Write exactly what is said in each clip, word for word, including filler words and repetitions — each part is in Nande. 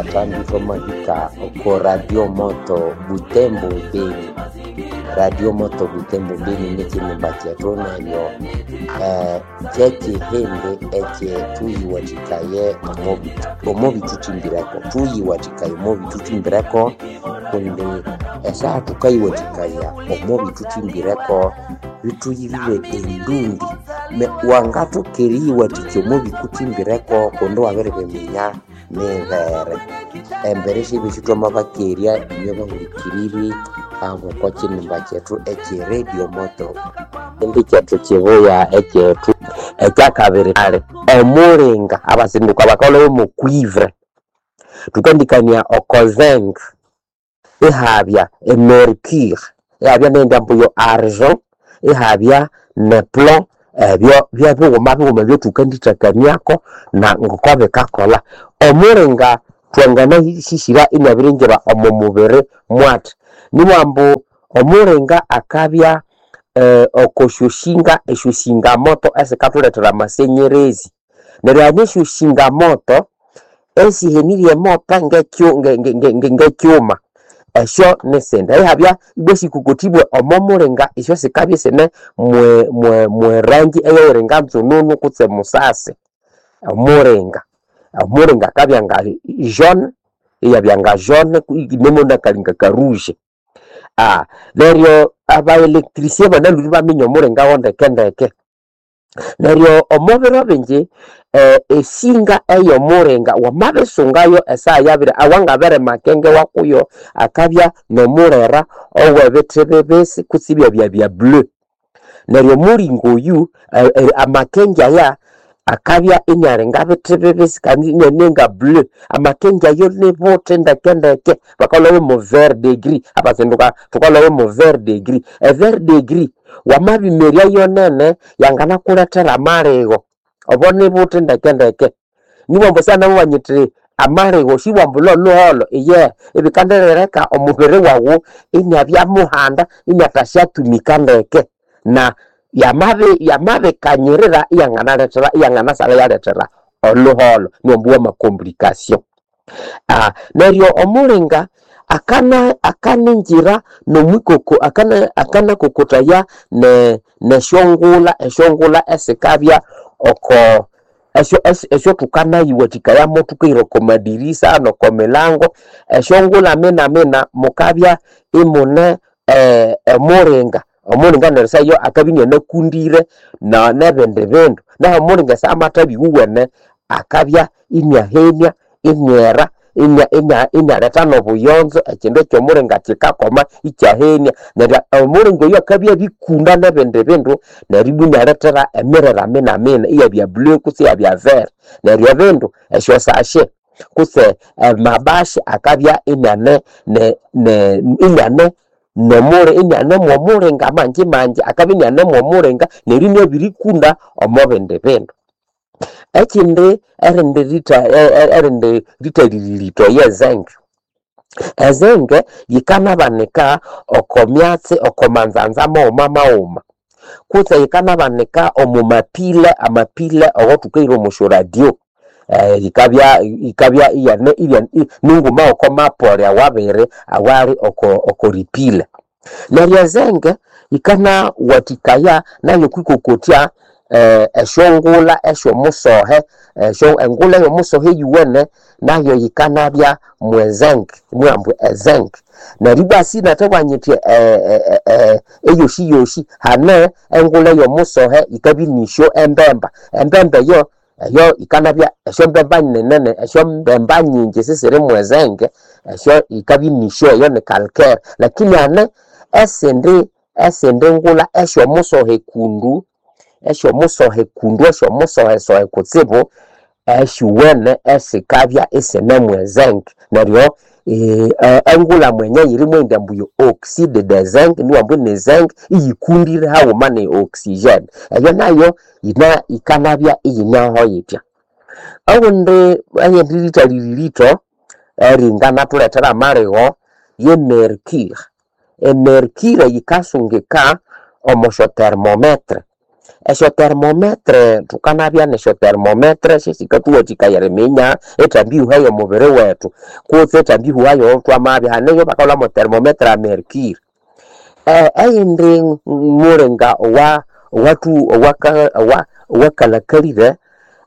Kathambi twamahika oko Radio Moto Butembo Beni. Radio Moto Butembo Beni nikinimba kyethu neryo eh, kyekihindi ekyethuyiwathikaye omo bithukimbireko thuyiwathikaye omo bithukimbireko kundi esaha thukayiwathikaya omo bithukimbireko bithuyirire endundi wangathoka eriyiwathikya omo bikuthimbireko kundi wabiribiminya mibere. Embere syebyosi thwamabakerya inywe bahulikiriri ab'oko kinimba kyethu ekye Radio Moto. Ekihindi kyethu kibuya ekyethu ekyakabiri ali omulinga abasinduka bakalhwamo mwo cuivre thukandikania oko zinc ihabya e mercure ihabya neyindi ambu yo argent ihabya ne plomb ebyo byebighuma bighuma ebyathukandithakaniako na ngoko bikakolha. Omulinga thwanganasisira iniabiringira omo mubiri mwathi nibugha ambu omulinga akabya oko syoshinga esyosinga moto esikathulethera amasenyerezi neryo hane esyosinga moto esihenirye emote ngekyuma esyo nisindi ihabya ibwa esikukothibwe omo mulinga esyo sikabya isine mwe rangi eyiringa nzununu kutse musasi. Omulinga, omulinga akabya nga jaune iyabya nga jaune inemonakalinga ka rouge. Neryo aba electricien banalhwire ibaminya omulinga wo ndekendeke. Neryo omo biro bingi esinga eyomulinga wamabisungayo esaha yabiri awangabere makenge wakuyo akabya nomulera owebithi bibisi kutse ibyabya bya blue. Neryo omulinga oyu amakenge aya akabya inialinga bithi bibisi kandi iniane nga blue. Amakenge ayo nibuthi ndekendeke bakalhwamo mwo vert de gris abazinduka thukalhwamo mwo vert de gris. E vert de gris wamabimerya yonene yanganakulethera amaligho obo nibuthi ndekendeke. Nibugha ambu syanamubana nyithi amaligho sibugha ambu lholhuholho iyehe ibikandirireka omubiri waghu iniabya muhanda iniathasyatumika ndeke na yamabikanyirira iyanganalethera iyanganasalha iyalethera olhuholho niwambu wama complication. Neryo omulinga akana akaningira nomwikoko akanakokothaya nesyongulha esyongulha esikabya oko esyathukanayiwathikayamo thukahira oko madirisa noko milango esyongulha minamina mukabya imune omulinga. Omulinga neryo esaha eyo akabya inianakundire nebindi bindu. Nahu omulinga esaha amathabya iwuwene akabya iniahenia iniera inialetha nobuyonzo ekindu ekyomulinga kikakoma ikyahenia. Neryo omulinga oyu akabya abikunda nebindi bindu neryo ibwa inialethera emirera minamina iyabya blue kutse iyabya vert. Neryo ebindu esyosashe kutse amabashi akabya iniane iniane mwomulinga mangi mangi akabya iniane mwomulinga neryo iniabirikunda omo bindi bindu. Ekindi erindi rithalirito ye zinc. Ezinc yikanabanika oko myatsi oko manzanza maghuma maghuma kutse yikanabanika omo mapile amapile awathukahira omo syoradio yikabya yikabya iyane ninguma oko mapole awabiri awali oko ripile. Neryo ezinc yikanawathikaya nayo okwikokotya esyongulha esyomusohe engulha eyomusohe eyuwene nayo yikanabya mwe zinc nibugha ambu ezinc. Neryo ibwa sinathabugha nyithi eyoshiyoshi hane engulha eyomusohe yikabya inisyo embemba. Embemba eyo eyo yikanabya esyombemba ninene esyombemba nyingi sisiri mwe zinc esyo yikabya inisyo eyo ni calcaire. Lakini hane esindi esindi ngulha esyomusohe kundu esyomusohe kundu esyomusohesohe kutsibu esyuwene esikabya isine mwe zinc. Neryo engulha mwenye yiri mweyindi ambu yo oxide de zinc nibugha ambu ni zinc iyikundire haghuma ne oxygen. Eyo nayo yikanabya iyineho yithya. Owundi eyindi rithalirito eringanathuletera amaligho ye mercure. E mercure yikasungika omo syo thermometer. Esyo thermometer thukanabya nesyo thermometer syesikathuwathikaya eriminya ethambi ihuha y'omubiri wethu kutse ethambi ihuha y'owatwamabya. Hane eyo bakalhwamo thermometer ya mercury. Eyindi mulinga owa owathu owaka owa owakalhakalire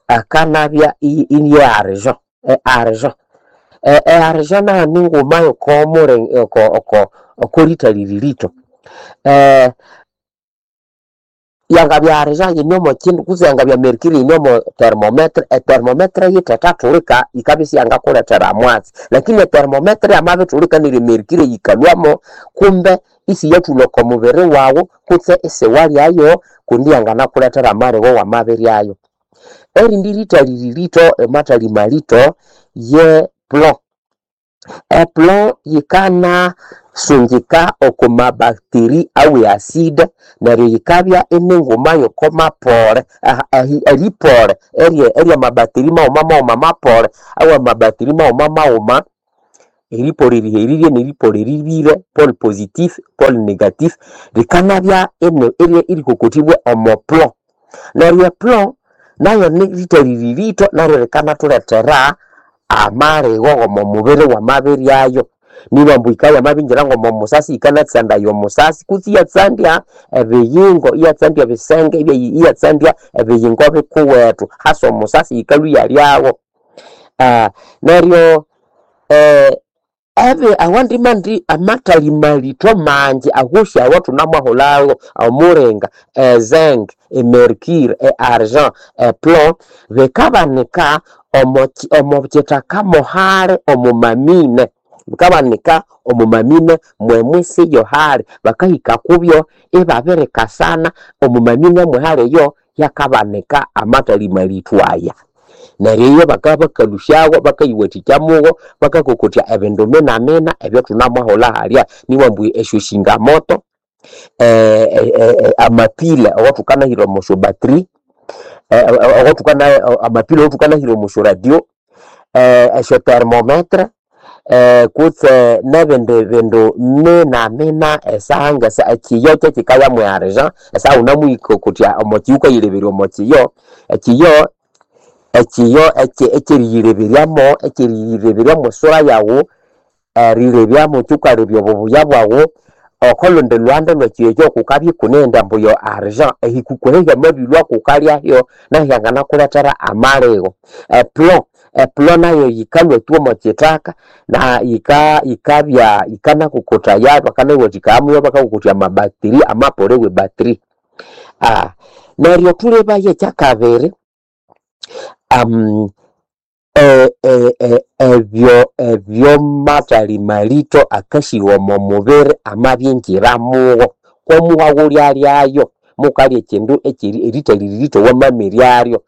akanabya ini argent, e argent. E argent nayo ninguma y'oko muli oko oko okorithalirito. Yangabya argent yine omo kindu kutse yangabya mercury yine omo thermometer, e thermometer yithethathulika yikabya isiyangakulethera mwatsi. Lakini e thermometer yamabithulika neryo e mercury yikalhwamo kumbe isiyathulha oko mubiri waghu kutse isiwalyayo kundi yanganakulethera amaligho wamabiryayo. Erindi rithalilirito amathali malito ye plomb. E plomb yikana sungika oko mabacteria awe acid neryo yikabya ininguma y'oko mapole eripole erya mabacteria maghuma maghuma mapole awa mabacteria maghuma maghuma eripole eriherire neripole eribire, pole positif, pole negatif, likanabya erikokothibwa omo plomb. Neryo e plomb nayo nirithalilirito naryo likanathulethera amaligho g'omo mubiri wamabiryayo. Nibambu ambu yikabya yamabingira ng'omo musasi yikanatsandaya omusasi kutse iyatsandya ebiyingo, iyatsandya ebisenge, iyatsandya ebiyingo bikuwethu hasa omusasi yikalhwa iyalyagho. Neryo ebi awandi mandi amathali malito mangi awosi awathunamwahulhago omulinga, e zinc, e mercury, e argent, e plomb, bikabanika omo omo kithaka mohali omo mamine. Bikabanika omo mamine mwemwisi yohali. Bakahika kubyo ibabirikasana omo mamine mwehali eyo yakabanika amathali malitho aya. Neryo iyo bakabya bakalhusyago bakayiwathikya mugo bakakokotya ebindu minamina ebyathunamwahulha halya. Nibughambu esyosingamoto, amapile awathukanahira omo syo battery, awathukana amapile awathukanahira omo syo radio, esyo thermometer, kutse nebindi bindu minamina esaha ngesa ekiyo kyekikaya mwe argent esaha wunamuyikokotya omo kiyo wukayileberya omo kiyo, ekiyo ekiyo ekyeriyileberyamo ekyeriyileberyamo esura yaghu erilebyamu kyikalebya obubuya bwaghu oko lundi lhuhande lwekiyo ekyo kukabya ikuneghenda ambu yo argent ehikuku eyo hyamabilhwa kukalyayo nayo hyanganakulethera amaligho. E plomb, e plomb nayo yikalhwa tu omo kithaka na yika yikabya yikanakokothaya bakanayiwathikaya muyo bakakokotya amabacteria amapole we battery. Neryo thulebaya ekyakabiri ebyo ebyomathali malito akasigha omo mubiri amabingira mugho kwomuhaghu lyalyayo mukalya ekindu ekyeri erithalilirito wamamiryalyo.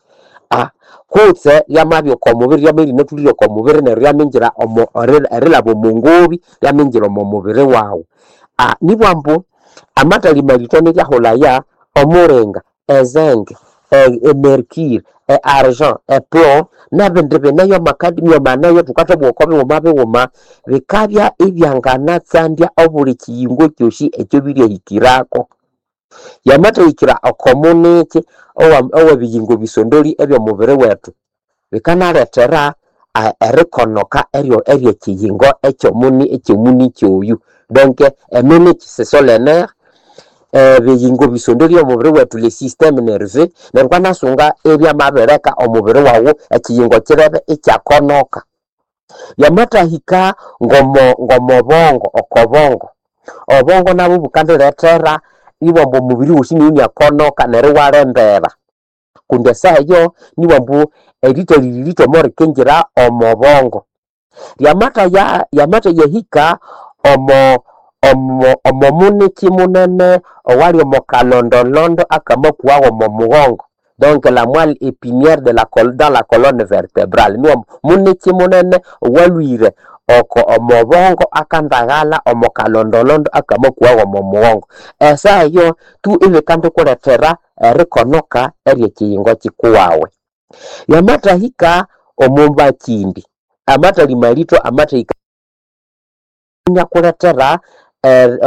Kutse lyamabya oko mubiri lyamabya iryinathulire oko mubiri neryo lyamingira omo erilhaba omo ngobi lyamingira omo mubiri waghu. Nibugha ambu amathali malito niryahulhaya omulinga, e zinc, e mercury, e argent, e plomb nebindi bineyo amacadmium aneyo thukathabugha oko bighuma bighuma bikabya ibyanganatsandya obuli kiyingo kyosi ekyabiryahikirako. Yamathahikira oko muniki owa owebiyingo bisondoli ebyomubiri wethu bikanalethera erikonoka eryo eryekiyingo ekyomuni ekyomuniki oyu. Donc eminiki ce sont les nerfs, ebiyingo bisondoli omubiri wethu le système nerveux neryo wukanasunga ebyamabireka omubiri waghu ekiyingo kirebe ikyakonoka. Yamathahika ngomo ngomobongo okobongo, obongo nabwo bukandilethera ibwamba omubiri wosi inyakonoka neryo iwalembera kundi esaha eyo nibughambu erithalilirito omorikingira omo bongo. Lyamathaya lyamathayahika omo omo omo muniki munene owali omo kalondolondo akamakuwagho omo mughongo donc la moelle épinière de la dans la colonne vertébrale nibughambu muniki munene owalhwire oko omo bongo akandaghalha omo kalondolondo akamakuwagho omo mughongo. Esaha eyo tu ibikandikulethera erikonoka eryekiyingo kikuwawe. Yamathahika omo mbakindi, amathali malito amathahika inyakulethera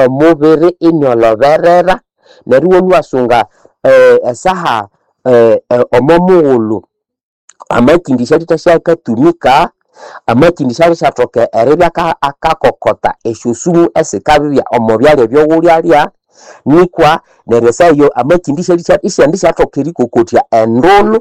omubiri inyoloberera neryo iwalhwa iwasunga eh, esaha eh, eh, omo mughulhu amakindi syalithasya-akatumika amakindi syalisathoka eribya aka- akakokota esyosumu esikabibya omo byalya ebyowulyalya nikwa neryo esaha eyo amakindi isyandisathoka erikokotya endulhu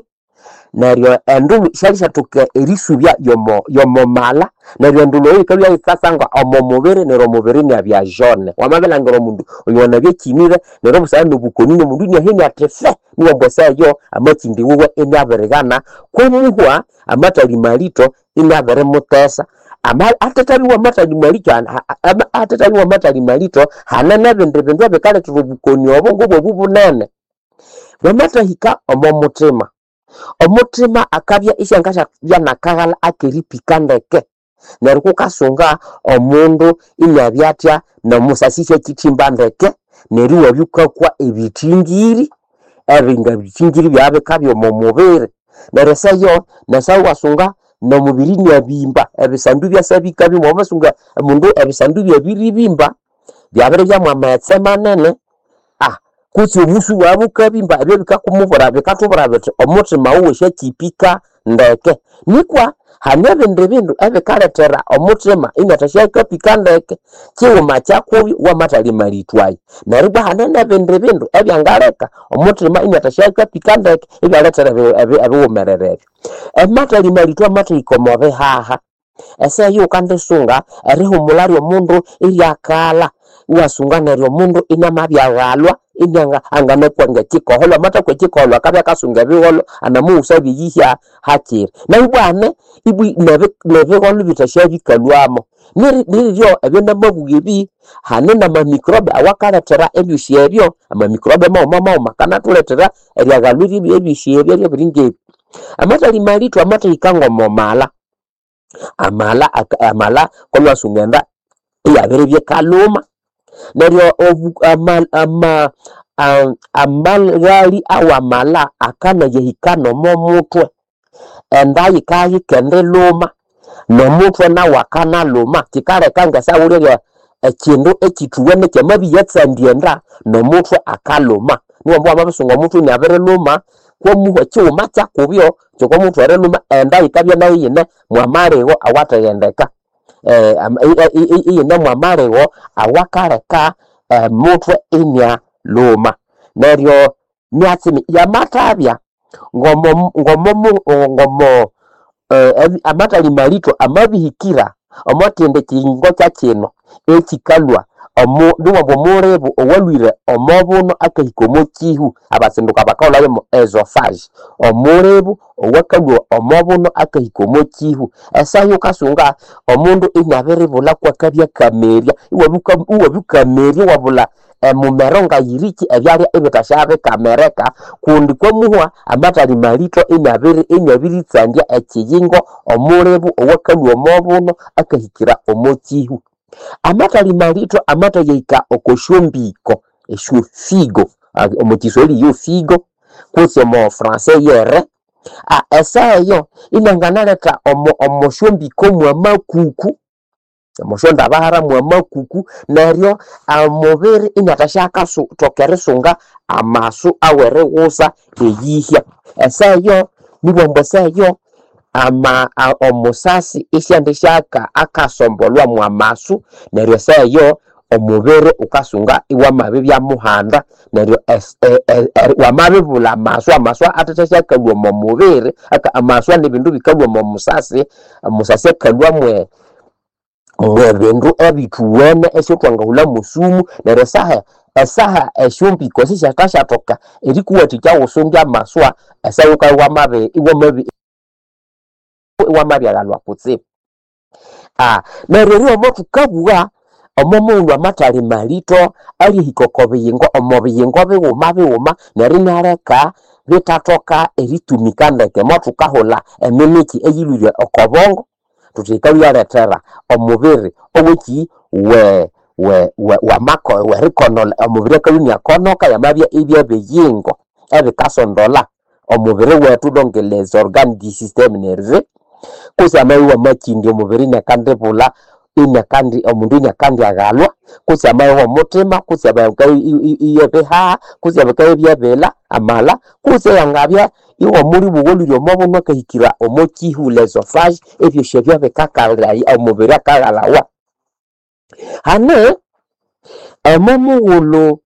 neryo endulhu syalisyathoka erisubya yomo yomo mala neryo endulhu eyo yikabya yikasanga omo mubiri neryo omubiri inabya jaune. Wamabilhangira omundu oyo wanabya akyinire neryo obusana nobukoni nomundu inahenia athi fe niwamba esaha eyo amakindi wuwe inabirighana kwomuhwa amathali malito inabirimutesa ama athethabiwa amathali malito athethabiwa amathali malito hane nebindi bindu ebikalethera obukoni obo ngobwobu bunene. Bwamathahika omo muthima, omuthima akabya isyangasyabya nakaghalha akeripika ndeke neryo kukasunga omundu inabya athya nomusasi isyakyithimba ndeke neryo iwabya wukakwa ebithingiri ebinga bithingiri byabya omo mubiri neryo esayo nesaha iwasunga nomubiri inabimba ebisandu ibyasa bikabimba wamasunga omundu ebisandu byabiribimba byabiribya mwamaghetse manene ah kutse obusu bwabya bukabimba ebyo bikakumubwira bikathubwira bithi omuthima wuwe syakyipika ndeke nikwa hane ebindi bindu ebikalethera omuthima inathasyakapika ndeke kighuma kyakubyo wamathalya malitho ayo neryo ibwa hane nebindi bindu ebyangaleka omuthima inathasyakapika ndeke ibyalethera ebighumerere ebyo. Amathali malitho amathahika omo bihaha esaha eyo wukandisunga erihumulha lyomundu iryakalha iwasunga neryo omundu inamabyaghalwa inianga anganakwa ngekikoholho amathakwa ekikoholho akabya akasunga ebigholho anamughusabya eyihya hakiri nayo ibwa hane ibwi nebigholho bithasyabyikalhwamo niryo ebyo namabugha ebi hane namamicrobe awakalethera ebyosi ebyo amamicrobe maghuma maghuma akanathulethera eryaghalwa eryosi ebyo ebiringebi. Amathali malitho amathahika ngomo mala, amala amala kolwasunga enda iyabiribya ikalhuma neryo ama amaghali awamala akanayahika nomo muthwe enda yikayikendilhuma nomuthwe nawu akanalhuma kikaleka ngesaha wulyalya ekindu ekyithuwene kyamabyatsandya enda nomuthwe akalhuma niwamba wamabisunga omuthwe iniabirilhuma kwomuhwa ekighuma kyakubyo kyokomuthwe erilhuma enda yikabya nayo iyine mwamaligho awathaghendeka iyine mwamaligho awakaleka omuthwe inialhuma neryo myatsi yamathabya ngomo ngomo ngomo amathali malitho amabihikira omo kindi kiyingo kyakino ekikalhwa niwamba omulibu owalhwire omo buno akahika omo kihu abasinduka bakahulhayo mo esophagus omulibu owakalhwa omo buno akahika omo kihu esaha wukasunga omundu inabiribulha kwakabya akamerya iwabya wukamerya iwabulha emumero ngayiriki ebyalya ibithasyabikamereka kundi kwamuhwa amathali malitho inabiri inabiritsandya ekiyingo omulibu owakalhwa omo buno akahikira omo kihu. Amathali malitho amathayahika oko syombiko esyofigo omo kiswahili yo figo kutse omo français yere esaha eyo inanganaletha omo omo syombiko mwamakuku omo syondabahara mwamakuku neryo omubiri inathasyakathoka erisunga amasu awerighusa eyihya esaha eyo nibwamba esaha eyo ama omusasi isyandisyaka akasombolwa mwamasu neryo esaha eyo omubiri wukasunga iwamabibya muhanda neryo wamabibulha amasu amasu athathasyakalhwa omo mubiri amaswa nibindu bikalhwa omo musasi omusasi akalhwa mwe mwebindu ebithuwene esyathwangahulha mosumu neryo esaha esaha esyombiko sisyathashathoka erikuwathikya ghusunge amaswa esaha wukabya iwamabi iwamabi iwamabyaghalwa kutsibu. Neryo eryo thukabugha omo mughulhu amathali malitho alyahika oko biyingo omo biyingo bighuma bighuma neryo inaleka bithathoka eritumika ndeke mothukahulha emimiki eyilhwire oko bongo thuthi yikalhwa omubiri oweki we we wamako werikonolha omubiri akalhwa iniakonoka yamabya ibyabiyingo ebikasondolha omubiri wethu donc les organes du système nerveux kutse amabya iwamakindya omubiri iniakandibulha Inyakandi omundu inyakandiaghalwa kutse amayowa omuthima kutse iyebihaha kutse bikabya amala kutse yangabya iwomuli bugholire omo bunwa akahikira omo kihula esophagus ebyosi ebyo bikakalhaya omubiri akaghalawa. Hane omo mughulhu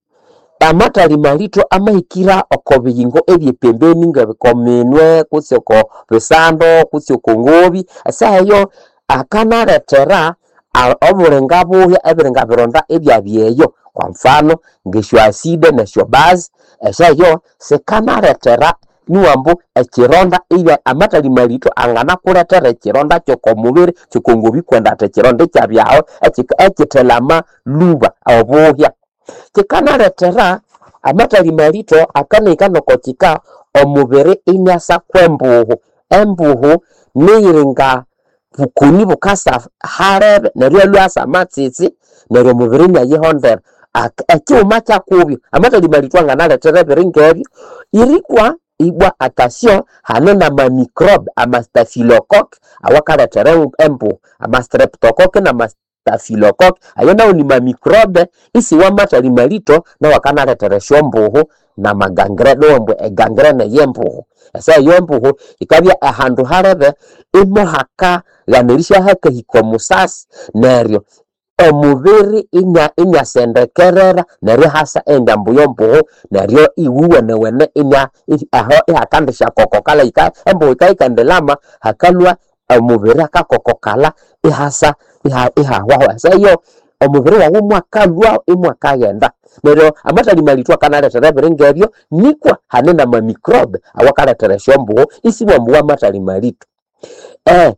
amathali malitho amahikira oko biyingo ebyepembeni ngoko minwe kutse oko bisando kutse oko ngobi esaha eyo akanalethera obulinga buhya ebiringa bironda ibyabya eyo kwa mfano ngesyo acid nesyo base esaha eyo sikanalethera niwambu ekironda ibya amathali malitho anganakulethera ekironda kyoko mubiri kyoko ngobi kwenda athi ekironda ikyabyaho ekithelama lhuba obuhya. Kikanalethera amathali malitho akanahika noko kika omubiri iniasa kwembuhu. Embuhu niyiringa bukoni bukasa halebe neryo iyalhwa asa amatsitsi neryo omubiri inayihondera. Ekighuma kyakubyo amathali malitho anganalethera ebiringa ebyo irikwa ibwa attention hane nama microbe ama staphylocoque awakalethera embuhu ama streptocoque nama staphylocoque ayo nawo ni mamicrobe isiwa mathali malitho nawo akanalethera esyombuhu nama gangrene owambu egangrene yembuhu. Esaha eyo embuhu yikabya ahandu halebe imohakaghanerisya hakahika omusasi neryo omubiri inya inyasendekerera neryo ihasa endambu yombuhu neryo iwuwenewene inya aho ihakandisyakokokalha embuhu yikayikandilhama hakalhwa omubiri akakokokalha ihasa ihahwaho esaha eyo omubiri wawu imwakalhwa imwakaghenda. Neryo amathali malitho akanalethera ebiringa ebyo nikwa hane nama microbe awakalethera esyombuhu isiwambu wamathali malitho. Eh,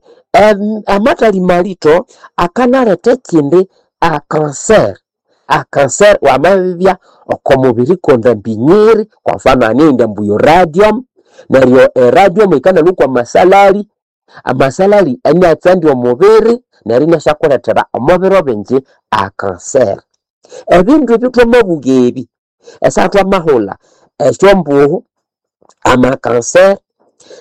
amathali malitho akanaletha ekindi a cancer. A cancer wamabibya oko mubiri kundi mbinyiri kwa mfano hane eyindi ambu yo radium neryo e radium yikanalhwa kwa masalali amasalali iniatsandya omubiri neryo iniasyakulethera omo biro bingi a cancer. Ebindu ebyo thwamabuga ebi esaha thwamahulha esyombuhu, ama cancer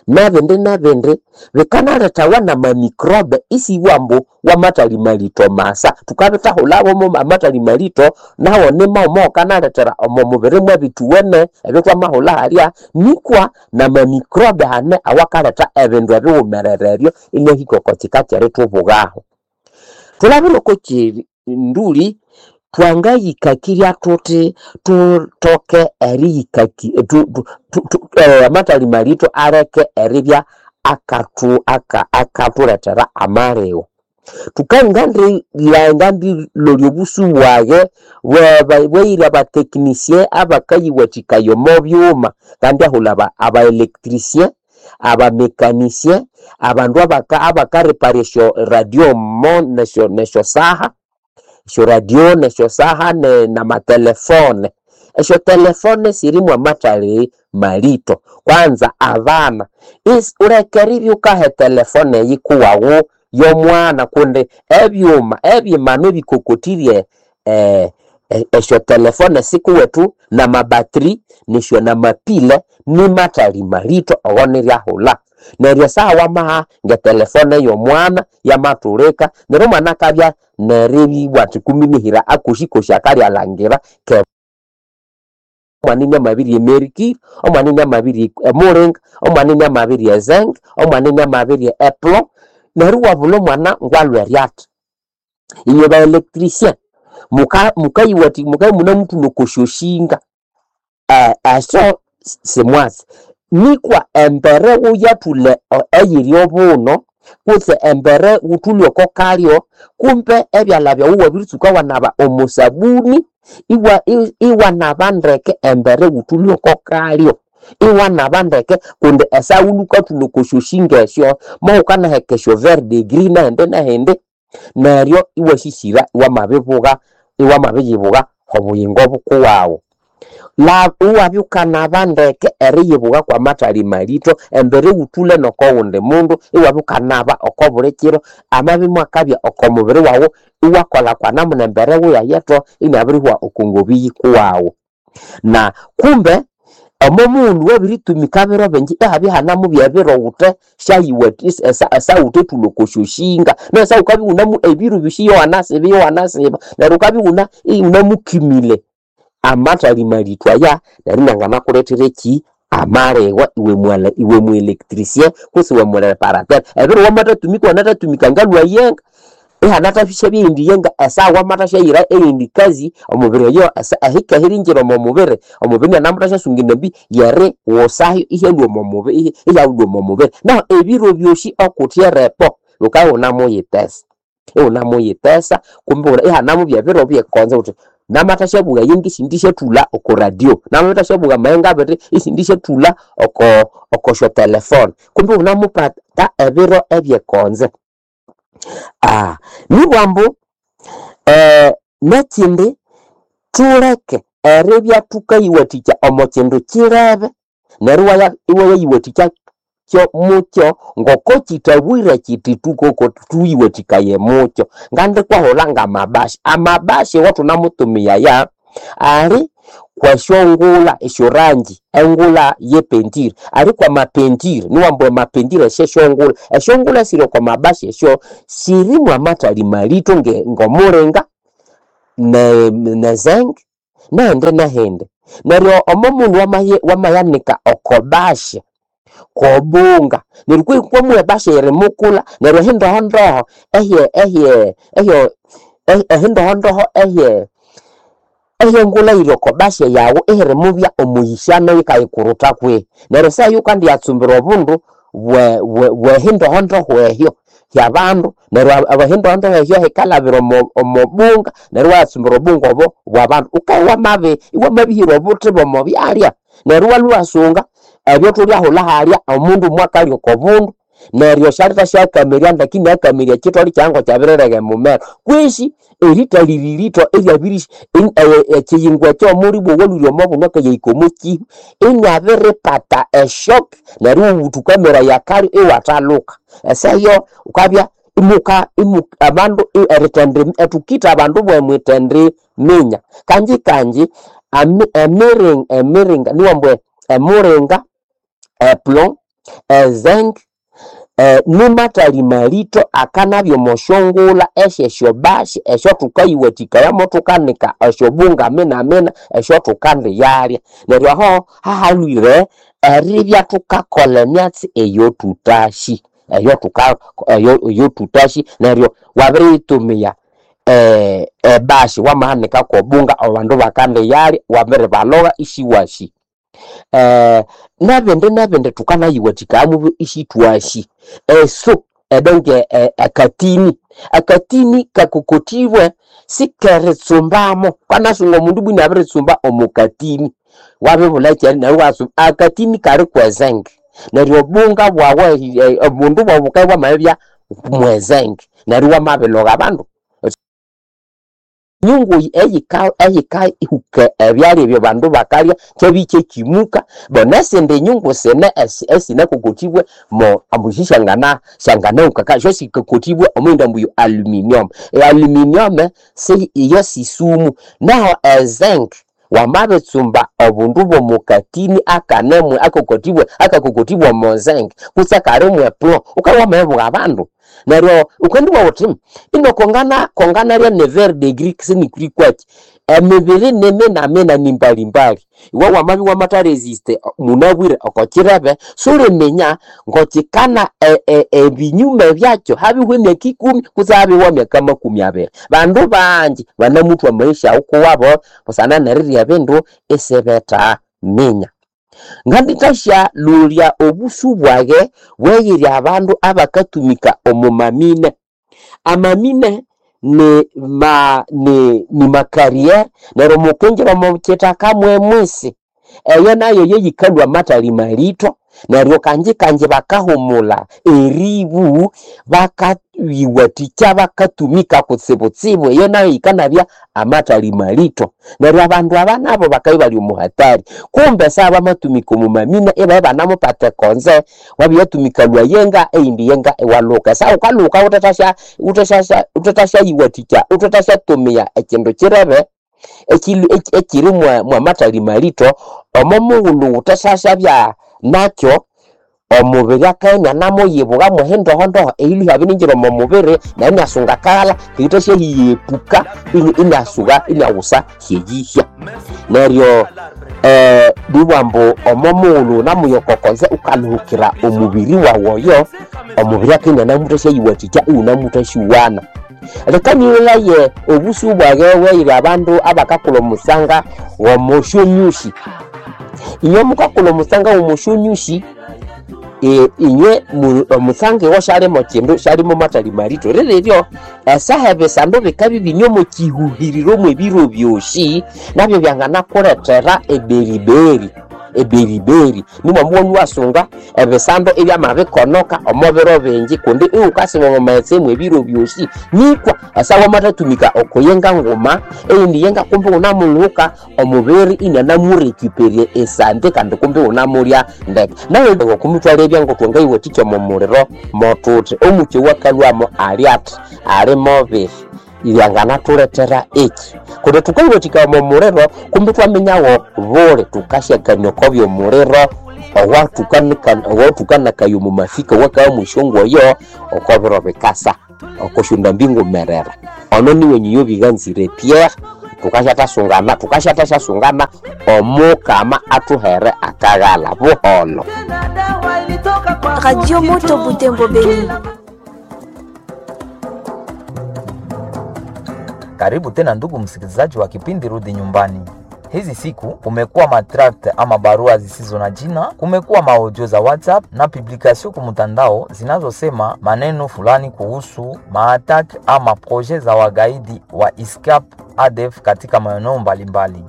nabindi nabindi bikanalethawa nama microbe isibwa ambu wamathali malitho masa. Thukabithahulhawo amathali malitho nawo nimaghuma awakanalethera omo mubiri mwabithuwene ebyo thwamahulha halya nikwa nama microbe hane awakaletha ebindu ebighumerere ebyo inahika oko kika kyerithubugaho. Thulabire oko kyinduli twangayikakirya thuthi thuthoke eriyikaki amathali malitho aleke eribya akathu akathulethera amaligho. Thukangandilolya obusu bwaghe bweyiri aba technicien abakayiwathikaya omo byuma ngandyahulha aba electricien, aba mécanicien, abandu abakarepara esyo radio nesyo saha, esyo radio nesyo saha namatelefone. Esyo telefone sirimu amathali malitho kwanza abana wuleke eribya wukaha etelefone eyikuwaghu yomwana kundi ebyuma ebyimanu ebikokothirye esyo telefone sikuwethu nama battery nesyo namapile nimathali malitho owo niryahulha. Neryo esaha wamaha ngetelefone yomwana yamathulika neryo omwana akabya neribugha athi kuminihira akosikosi akalyalhangira ke omwana iniamabirya emercury, omwana iniamabirya emulinga, omwana iniamabirya ezinc, omwana iniamabirya eplomb neryo iwabulha omwana ngwalhwere athi. Inywe ba electricien mukayiwathikaya mukabya imunemuthuma oko syoshinga esyo simwatsi nikwa embere wuyathulha eyiri obuno kutse embere wuthulhe oko kalyo kumbe ebyalha byawu iwabiritsuka iwanaba omo sabuni iwanaba ndeke embere wuthulhe oko kalyo iwanaba ndeke kundi esaha wulhwe wukathulha oko syoshinga esyo mowukanaheka esyo verdigris nahindi nahindi neryo iwasisira iwamabibuga iwamabiyibugha obuyingo bukuwaghu. Iwabya wukanaba ndeke eriyibuga kwamathali malitho embere wuthulhe noko wundi mundu iwabya wukanaba oko buli kiro amabya imwakabya oko mubiri waghu iwakolha kwanamuna embere wuyayetho inabirihwa oko ngobi yikuwaghu. Na kumbe Omo mughulhu wabiritumika biro bingi ihabya ihanamubya ebiro wuthe syayiwa esawuthe thulha oko syoshinga neryo esaha wukabya iwunamu ebiro byosi iwanasiba iwanasiba neryo wukabya iwuna iwunamukimile amathali aya neryo inanganakulethera eki amaligwa iwe mwala iwe mu electricien kutse iwe mureparateur. Ebiro wamathatumika iwanathatumika ngalhwa yenga ihanathasyabya eyindi yenga esaha wamathasyayira eyindi kazi omubiri oyo ehika erihingira omo mubiri omubiri inianamuthasyasunga endambi yeriwusayo ihyalhwa omo mubiri ihyalhwa omo mubiri. Nahu ebiro byosi okuthe erepo wukabya iwunamuyithesa iwunamuyithesa kumbe ihanamubya ebiro byekonzo wuthi namathasyabuwa eyenga isindisyathulha oko radio, namathasyabuwa amayenga abiri isindisyathulha oko okosyo telefone kumbe iwunamupata ebiro ebyekonzo. Nibwa ambu nekindi thuleke eribya thukayiwathikya omo kindu kirebe neryo iwayayiwathikya mukyo ngoko kithabwire kiti thukoko thuyiwathikaye mukyo. Ngandikwahulha ngamabasha, amabasha awathunamutumiyaya ali kwesyongulha esyorangi engulha yepentire, ali kwamapentire niwambu amapentire esyesyongulha, esyongulha esiri okwa mabasha esyo sirimu amathali malitho ngomulinga ne nezenge nehindi nehindi. Neryo omo mughulhu wamayanika oko basha kwobunga neryo kwihi kwamuha ebasha eyirimukulha neryo ehindohondoho ehye ehye ehyo ehindohondoho ehye ehyengulha eyiri oko basha yawu ihirimubya omuyishano yikayikuruta kwihi. Neryo esaha eyo wukandiyatsumbira obundu bwe bwehindohondoho ehyo hyabandu neryo ehindohondoho ehyo hikalhabira omo omobunga neryo iwayatsumbira obunga obo bwabandu. Wukabya wamabi iwamabihira obuthi bw'omo byalya neryo iwalhwa iwasunga ebyathulhyahulha halya omundu mwakalya oko bundu neryo syalithasyakamirya ndeke inakamirya ekitholi kyayi ngokyabirirega emumero kwisi erithalira eryabiri ekiyingo ekyo omulibwa owalhwire omo bundu akayahika omo kihu inabiripata eshock neryo iwuthukameraya akalyo iwathaluka. Esaha eyo wukabya imuka abandu erithendi thukitha abandu bwemwithendiminya. Kangi kangi emiringa niwambu emuringa, eplomb, ezinc nimathali malitho akanabya omo syongulha esyesyobasha esyathukaghiwathikayamu thukanika esyobunga minamina esyathukandiyalya. Neryo aho hahalhwire eribya thukakolha emyatsi eyothutasi eyothuka eyothutasi neryo wabiriyitumia ebasha wamahanika kwobunga abandu bakandiyalya wabiribalhoba isiwasi. Nebindi nebindi thukanayiwathikayamu isithwasi. Eso edonke akatini, akatini kakokothibwe sikeritsumbamo wukanasunga omundu ibwa inabiritsumba omo katini wabibulha ekyalya neryo iwatsumba akatini kali kwezenge neryo obunga bwawu obundu bwawu bukabya bwamabibya mwezenge neryo iwamabilhoga abandu. Nyungu eyika eyikahuka ebyalya ebyo abandu bakalya kyabya ikyakimuka nesindi nyungu sine esinakokothibwe mo ambu sisyangana syanganahuka syo sikakothibwe omwindi ambu aluminium. Ealuminium iyo sisumu nahu ezinc wamabitsumba obundu bw'omo katini akanemu akakothibwe akakokothibwe omo zinc kutse akali mwe plomb wukabya wamabibugha abandu. Neryo wukandibugha wuthi ino kongana konganalya ne verdigris sinikuli kwaki emibiri niminamina nimbalimbali. Iwe wamabya iwamatha resist munabwire oko kirebe suliminya ngokikana ebinyume byakyo habihwa emyaka ikumi kutse habihwa emyaka makumi abiri. Bandu bangi banamuthwa amaisha aghukuwabo busana nerirya ebindu isibethaminya. Ngandithasya lolya obusu bwaghe bweyirya abandu abakatumika omo mamine. Amamine ni ma ni nimacarriere neryo mukingira omo kithaka mwemwisi eyo nayo yeyikalhwa amathali malitho neryo kangi kangi bakahumulha eribu bakayiwathikya bakatumika kutsibutsibu eyo nayo yikanabya amathali malitho. Neryo abandu aba nabo bakabya ibali omo hatari kumbe esaha bamatumika omo mamine ibabya ibanamupata ekonze wabyatumika lwayenga eyindi yenga iwalhuka. Esaha wukalhuka wuthethasya wuthethasya wuthethasyayiwathikya wuthethasyatumia ekindu kirebe ekiri mwamathali malito omo mughulhu wuthasyasyabya nakyo omubiri akabya inanamuyibuka mwehindohondoho eyilhuhya abiringira omo mubiri nayo inasunga akaghalha eyithasyahiyepuka inasuba inawusa hyeyihya. Neryo eh, nibugha ambu omo mughulhu wunamuyokokoze wukalhuhukira omubiri wawu oyo, omubiri akabya inanamuthasyayuwathikya iwunamuthasyuwana. Leka nyighilaye obusu bwaghe bweyiri abandu abakakulha omusanga w'omusyonyusi. Inywe mukakulha omusanga w'omusyonyusi, e, inywe omusanga iwo syalimo kindu, syalimo mathali malito. Rireryo esaha ebisando bikabya ibine omo kihuhiriro mw'ebiro byosi, nabyo byanganakulethera eberiberi eberiberi nimwambu iwasunga ebisando ibyamabikonoka omo biro bingi kundi iwukasiba omo maghetse mw'ebiro byosi. Nikwa esaha wamathatumika oko yenga nguma eyindi yenga kumbi iwunamulhuka omubiri inanamurecuperya esante kandi kumbi iwunamulya ndeke. Nayo okumithwalebya ngoko thwangayiwathikya omo muliro mothuthi omukyi owakalhwamo ali athi ali mobihi lyanganathulethera eki kundi thukayiwathikaya omo muliro kumbi ithwaminyawo buli thukasyakania oko byomuliro owathukanakaya omo mafika owakabya mwesyongoyo oko biro bikasa oko syondambi ngumerera. Ono niwe nyiyo biganzire Pierre thukasyathasungana thukasyathasyasunga omukama athuhere akaghalha buholho. Radio Moto Butembo Beni. Karibu tena ndugu msikilizaji wa kipindi Rudi Nyumbani. Hizi siku kumekuwa matract ama barua zisizo na jina, kumekuwa maaudio za WhatsApp na publikasio kumtandao zinazosema maneno fulani kuhusu maatak ama proje za wagaidi wa ISCAP A D F katika maeneo mbalimbali.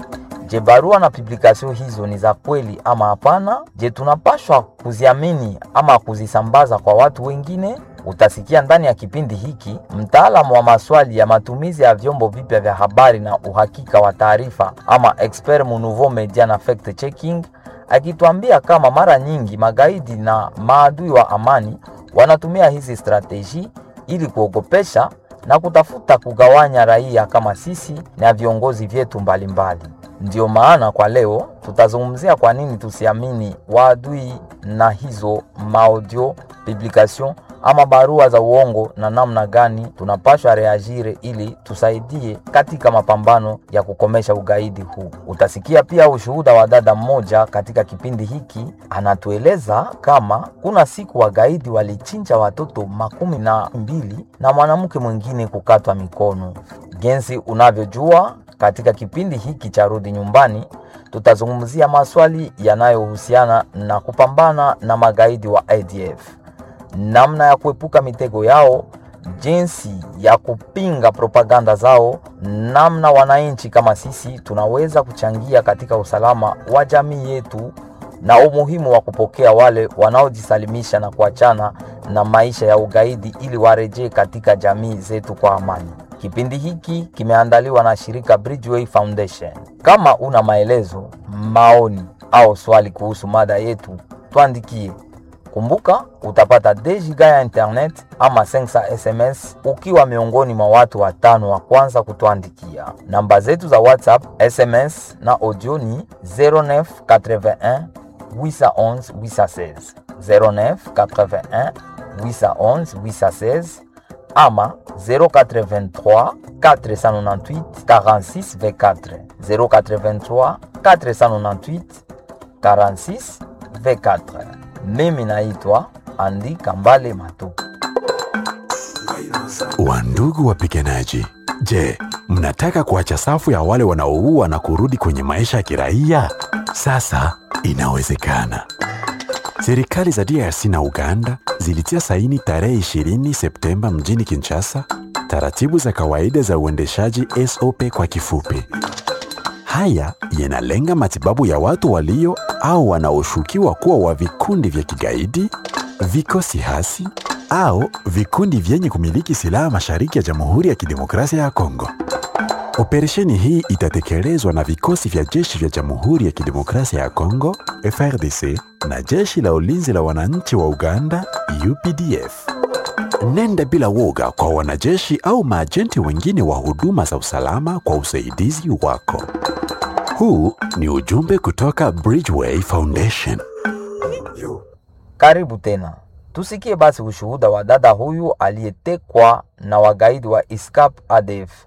Je, barua na publikasio hizo ni za kweli ama hapana? Je, tunapashwa kuziamini ama kuzisambaza kwa watu wengine? Utasikia ndani ya kipindi hiki mtaalamu wa maswali ya matumizi ya vyombo vipya vya habari na uhakika wa taarifa ama expert mu nouveau media na fact checking akituambia kama mara nyingi magaidi na maadui wa amani wanatumia hizi strateji ili kuogopesha na kutafuta kugawanya raia kama sisi na viongozi vyetu mbalimbali. Ndiyo maana kwa leo tutazungumzia kwa nini tusiamini waadui na hizo maaudio publication ama barua za uongo na namna gani tunapashwa reagire ili tusaidie katika mapambano ya kukomesha ugaidi huu. Utasikia pia ushuhuda wa dada mmoja katika kipindi hiki, anatueleza kama kuna siku wagaidi walichinja watoto makumi na mbili na mwanamke mwingine kukatwa mikono. Jinsi unavyojua, katika kipindi hiki cha Rudi Nyumbani tutazungumzia maswali yanayohusiana na kupambana na magaidi wa A D F, namna ya kuepuka mitego yao, jinsi ya kupinga propaganda zao, namna wananchi kama sisi tunaweza kuchangia katika usalama wa jamii yetu, na umuhimu wa kupokea wale wanaojisalimisha na kuachana na maisha ya ugaidi ili warejee katika jamii zetu kwa amani. Kipindi hiki kimeandaliwa na shirika Bridgeway Foundation. Kama una maelezo, maoni au swali kuhusu mada yetu, tuandikie. Kumbuka utapata deux giga ya internet ama cinq cents S M S ukiwa miongoni mwa watu watano wa kwanza kutuandikia. Namba zetu za WhatsApp, S M S na audio ni zéro neuf quatre-vingt-un huit cent onze huit cent seize. zéro neuf quatre-vingt-un huit cent onze huit cent seize ama zéro quatre-vingt-trois quatre cent quatre-vingt-huit quarante-six vingt-quatre. zéro quatre-vingt-trois quatre cent quatre-vingt-huit quarante-six vingt-quatre. Mimi naitwa Andi Kambale Matuku. Wandugu wapiganaji, je, mnataka kuacha safu ya wale wanaoua na kurudi kwenye maisha ya kiraia? Sasa inawezekana. Serikali za D R C na Uganda zilitia saini tarehe ishirini Septemba mjini Kinshasa taratibu za kawaida za uendeshaji S O P kwa kifupi. Haya yanalenga matibabu ya watu walio au wanaoshukiwa kuwa wa vikundi vya kigaidi, vikosi hasi au vikundi vyenye kumiliki silaha mashariki ya Jamhuri ya Kidemokrasia ya Kongo. Operesheni hii itatekelezwa na vikosi vya jeshi vya Jamhuri ya Kidemokrasia ya Kongo, F R D C, na jeshi la ulinzi la wananchi wa Uganda, U P D F. nenda bila woga kwa wanajeshi au maajenti wengine wa huduma za usalama kwa usaidizi wako. Huu ni ujumbe kutoka Bridgeway Foundation. Karibu tena. Tusikie basi ushuhuda wa dada huyu aliyetekwa na wagaidi wa ISCAP A D F.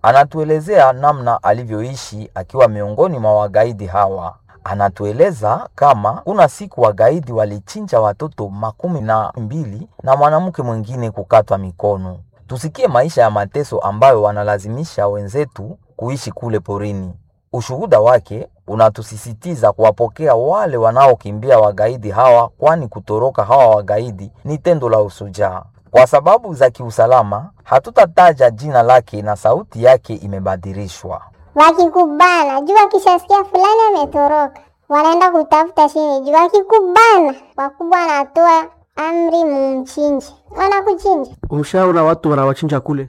Anatuelezea namna alivyoishi akiwa miongoni mwa wagaidi hawa. Anatueleza kama kuna siku wagaidi walichinja watoto makumi na mbili na mwanamke mwingine kukatwa mikono. Tusikie maisha ya mateso ambayo wanalazimisha wenzetu kuishi kule porini. Ushuhuda wake unatusisitiza kuwapokea wale wanaokimbia wagaidi hawa, kwani kutoroka hawa wagaidi ni tendo la usujaa. Kwa sababu za kiusalama, hatutataja jina lake na sauti yake imebadilishwa. Wakikubana juu, wakishasikia fulani ametoroka, wanaenda kutafuta chini juu. Wakikubana, wakubwa wanatoa amri, mumchinje, wanakuchinja. Umshaona watu wanawachinja kule?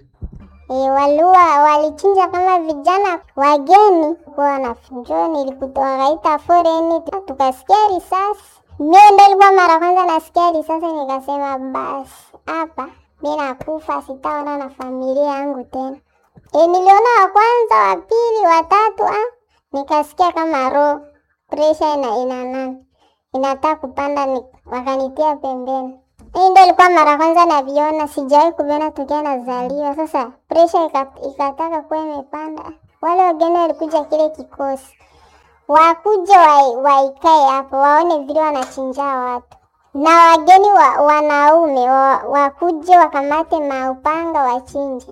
E, walua walichinja kama vijana wageni kwa wanafunjo, nilikuta wakaita foreni, tukasikia risasi. Mie ndo ilikuwa mara kwanza nasikia risasi, nikasema basi hapa mi nakufa, sitaona na familia yangu tena. E, niliona wa kwanza, wa pili, wa tatu, ah, nikasikia kama roho pressure ina ina nani inataka kupanda, ni, wakanitia pembeni. Hii ndo ilikuwa mara kwanza naviona, sijawahi kuviona tokea nazaliwa. Sasa pressure ika- ikataka kuwa imepanda. Wale wageni walikuja kile kikosi, wakuja wa, waikae hapo waone vile wanachinja watu, na wageni wa, wanaume wa, wakuje wakamate maupanga wachinje.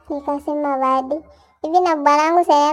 Nikasema badi hivi na bwanangu sasa.